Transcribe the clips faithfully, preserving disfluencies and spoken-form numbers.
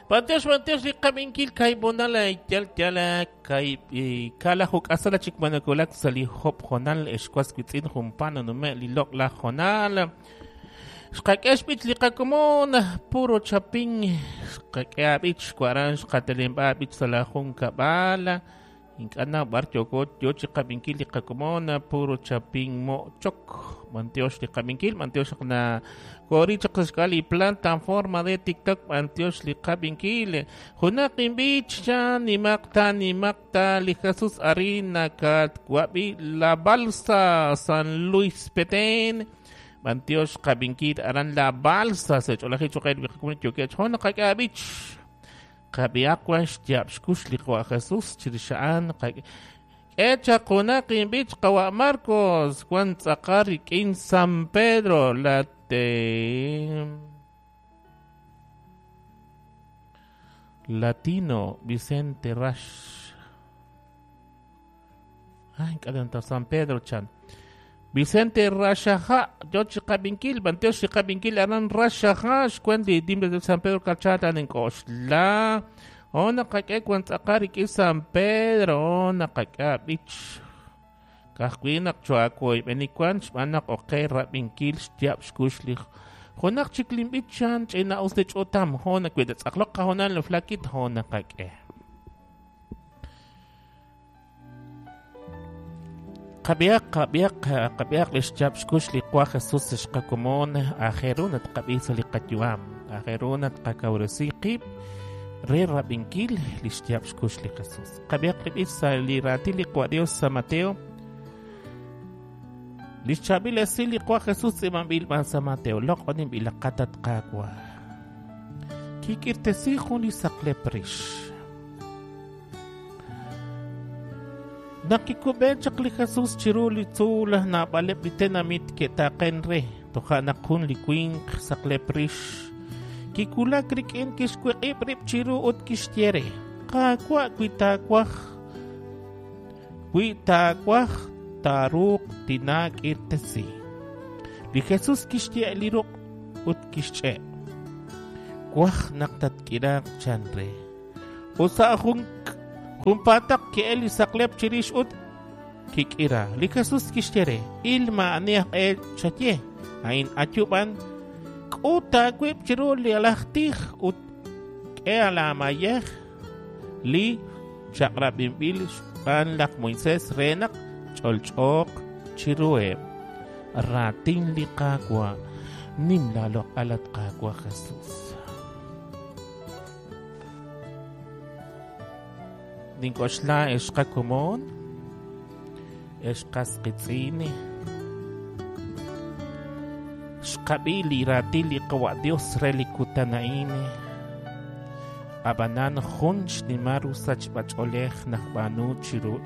Bantiox bantiox li qabinkil kaibonal yal yal kai kala huk asala chik manakulak sali hop jonal escuas quitzin jumpano nume li lok la jonal. Xqak'ex b'ich li qakomon puro chapin xqak'ea b'ich xkwaran xqatelemb'a b'ich sa la jun kab'al ink'ana b'ar yoko yo chi qabinkil li qakomon puro chapin mo chok bantiox li qabinkil bantiox na kori chaq xk'al li planta en forma de TikTok bantiox li qabinkil junaq inb'ich chan nimaqta nimaqta li Jesús arina kat wabi la balsa San Luis Petén Bantiox qabinkil aran la balsa se ch'olaji choqel biqakumon yokech hon qak'abich qabiaqwan xtyab xkux li qawa Jesús chirixa'an echa qunaq inb'ich qawa Marcos wan tz'aqar rik'in San Pedro la te Latino Vicente Rash ay kadanta San Pedro chan Vicente Rashaja, yo chiqabinkil, banteo chiqabinkil, aran Rashaja, xcuendi, dimbre de San Pedro Cachata, en Coxla, ona kake cuantzaqarik y San Pedro, ona kake bich, kajwinak chuakoy, benikuan, xbanak oke rabinkil, xtiap xkushlich, jonak chiklim bichan, chena usdech otam, hona cuidatzaqloqa, honan lo flakit, hona kake. Qabiaq qabiaq qabiaq lixchab xkux li qwa Jesús xqakomon ajerunat qabisa li qatyuam ajerunat qakawresi qib re rabinkil lixchab xkux li Jesús qabiaq libisa li rati li qwa Dios San Mateo lixchabil esi li qwa Jesús iman bil ban San Mateo loqonim bil qatat qaqwa kikirtesi jun li saqleprish Nakikub'en chaq li Jesús chiru li tzuul naab'aleb' li tenamit ke'taqen re toja' naq jun li winq saqlep rix kikulak rik'in kixwiq'ib' rib' chiru ut kixye re qaawa' wi taawaj wi taawaj taaruuq tinaak'irtesi li Jesús kixye li ruq' ut kixch'e' waj naq tatk'iraaq chan re ut sa' jun Jumpataq ke'el li saqlep chirix ut kik'ira li Jesús kixye il ma'ani aj el chaye ain ayuban k'ut aawib' chiru li alaj tij ut k'e alaamayej li chaq'rab'inb'il xb'aan laj Moisés re naq ch'olch'ooq chiruheb' raatin li Qaawa' nim laaloq'al at Qaawa' Jesús. Ninkoxla exqakomon exqasqitz'ini xqab'i li raatin li qawa' Dios re li kutan a'in ab'anan jun xnimal rusachb'ach'oolej najb'aanu chiru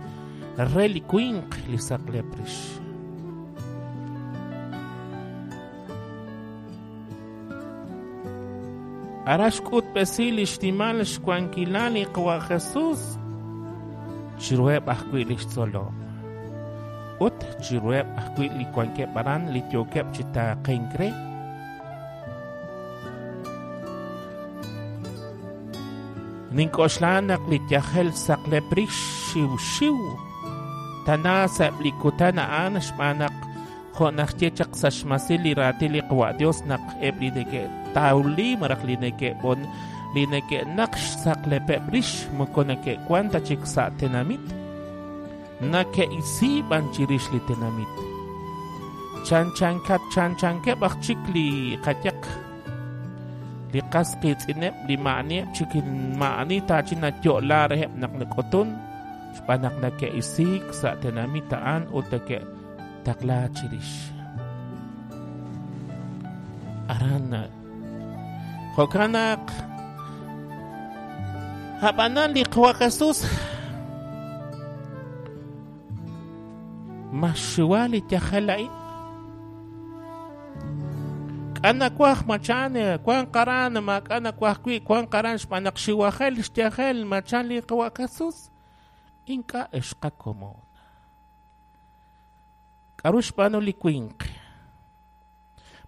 re li winq li saqlep rix. Ara xk'utb'esi li xnimal xwankilal li qawa' Jesús chiruheb' ajwi' li xtzolom ut chiruheb' ajwi' li wankeb' aran li yookeb' chi taaqenk re. Nink'oxla naq li yajel saqlep rix xiw xiw tana sa'eb' li kutan a'an xb'aan naq jo' najye chaq sa' xmasil li raatin li qawa' Dios naq eb' li neke'tawli malaj li neke'b'on li neke'naq xsaqlepeb' rix moko neke'wan ta chik sa' tenamit nake'isiib'an chirix li tenamit chanchankat chanchankeb' aj chik li qayaq li qas qiitz'ineb' li ma'anieb' chik ma'ani taachi nayo'la reheb' naq nak'utun xb'aan naq nake'isiik sa' tenamit a'an ut neke'taqla chirix aran jo'kan naq ab'anan li qawa' Jesús maxxiwa li yajel a'in k'ana waj machan wan qaran ma k'ana waj wi' wan qaran xb'aan naq xiwajel xyajel machan li qawa' Jesús ink'a' exqakomon k'aru xb'aanu li winq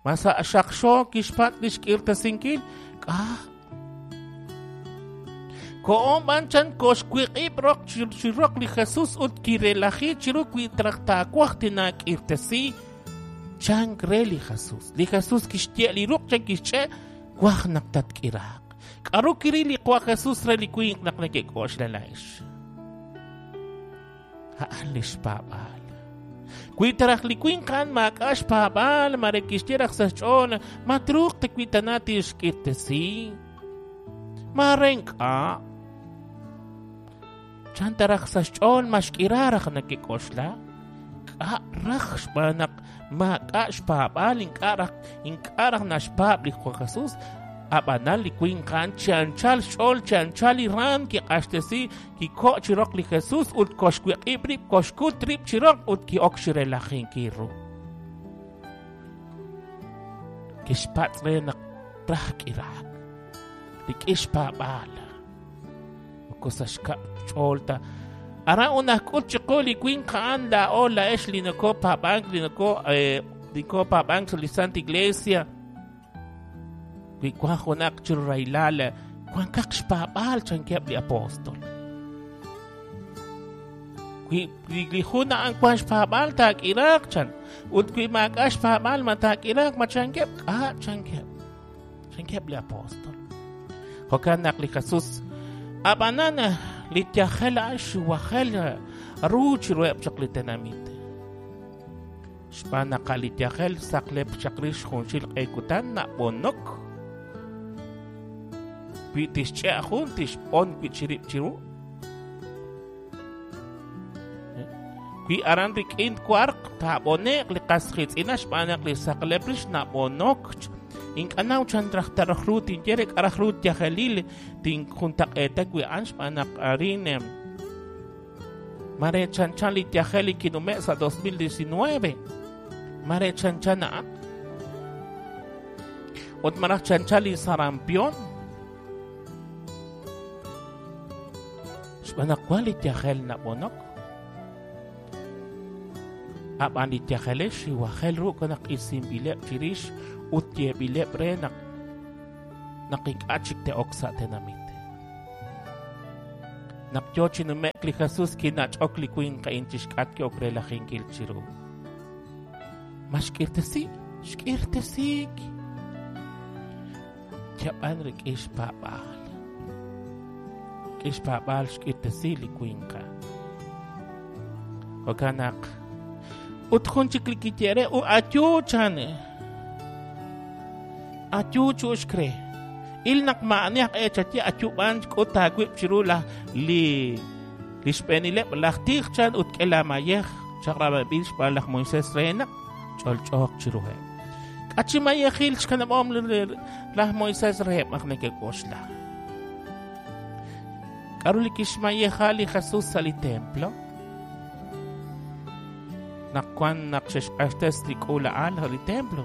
ma sa' xaqxo kixpatz' li xk'irtasinkil k'a Ko'on b'an chan koxwiq'ib' roq chi roq li Jesus ut kirelaji chiru wi traj taawaj tinaak'irtesi chan re li Jesus. Li Jesus kixye li ruq' chan kixch'e waj naq tatk'iraaq. K'aru kiril li Qwa Jesus re li winq naq nekek'oxla laa'ex? A'an li xpaab'aal. Wi taraj li winq a'an maak'a' xpaab'aal mare kixye raj sa' xch'ool ma truuq ta wi tana tixk'irtesi. Mare ink'a'. Chan taraj sa' xch'ool ma xk'ira raj nekek'oxla? K'a' raj xb'aan naq maak'a' xpaab'aal ink'a' raj ink'a' raj naxpaab' li Qwa Jesus. Ab'anan li winq a'an chi anchal xch'ool chi anchal li raam kiq'axtesi kiko' chi roq li Jesus ut koxwiq'ib' rib' koxkut rib' chi roq ut ki'ok xirelajinkil ru. Kixpatz' re naq raj k'iraak rik'in xpaab'aal. Moko sa' xkab' xch'ool ta. Aran unajk'ut chiqu li winq a'an laa'o laa'ex li nokopaab'ank li noko nikopaab'ank sa' li Santa Iglesia. Wi wan junaq chiru rahilal wankaq xpaab'aal chankeb' li apóstol. Wi li jun a'an wan xpaab'aal taak'iraaq chan ut wi maak'a' xpaab'aal ma taak'iraaq ma chankeb' k'a' chankeb' chankeb' li apóstol. Jo'kan naq li Jesus ab'anan li yajel a'an xuwajel ru chiruheb' chaq li tenamit. Xb'aan naq li yajel saqlep chaq rix junxil q'e kutan nab'onok. Wi tixch'e' jun tixb'on wi chirib' chiru. Wi aran rik'in warq taab'one'q li qas qiitz'ina xb'aan naq li saqlep rix nab'onok. Ink'a' naw chan raj taraj ru tinye re k'a raj ru yajelil tinjuntaq'eeta wi a'an xb'aan naq arin mare chanchan li yajel li kinume' sa' dos mil diecinueve. Mare chanchan a'an. Ut maraj chanchan li sarampión. Xb'aan naq wan li yajel nab'onok. Ab'an li yajelex xiwajel ru naq isinb'ileb' chirix ut yeeb'ileb' re naq naq ink'a' chik te'ok sa' tenamit. Naq yo chi nume'k li Jesus kinach'ok li winq a'in chixk'atq ki'ok relajinkil chiru. Ma xk'irtesi? Xk'irtesiik. Yab'an rik'in xpaab'aal. Rik'in xpaab'aal xk'irtesi li winq a'an. Jo'kan naq ut jun chik li kiye re u ayu chan. Ayu chu'uxk re. Il naq ma'ani aj echaye ayu b'an k'ut taawib' chiru laj li li xb'eenileb' laj tij chan ut k'e laamayej chaq'rab'il xb'aan laj Moisés re naq ch'olch'ooq chiruheb'. K'a chi mayejil xkanab'om laj Moisés reheb' naq nekek'oxla. K'aru li kixmayeja li Jesus sa' li templo? Naq wan naq xe'xq'axtes li k'uula'al sa' li templo.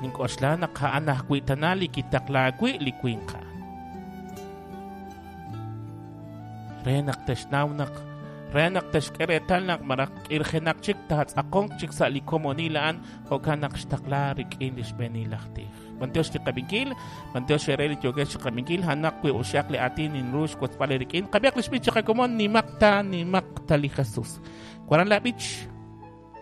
Nink'oxla naq a'an ajwi' tana li kitaqlaawi li winq a'an. Re naq texnaw naq re naq texk'e reetal naq maraj k'irjenaq chik taatz'aqonq chik sa' li komonil a'an jo'kan naq xtaqla rik'in li xb'eenil laj tij. B'antiox li qab'inkil, b'antiox re li yookex chi qab'inkil, a'anaq wi uxaq li aatin ninru xwotzb'al rik'in. Qab'iaq li xb'ich chiqakomon nimaq ta nimaq ta li Jesus. Waran la b'ich.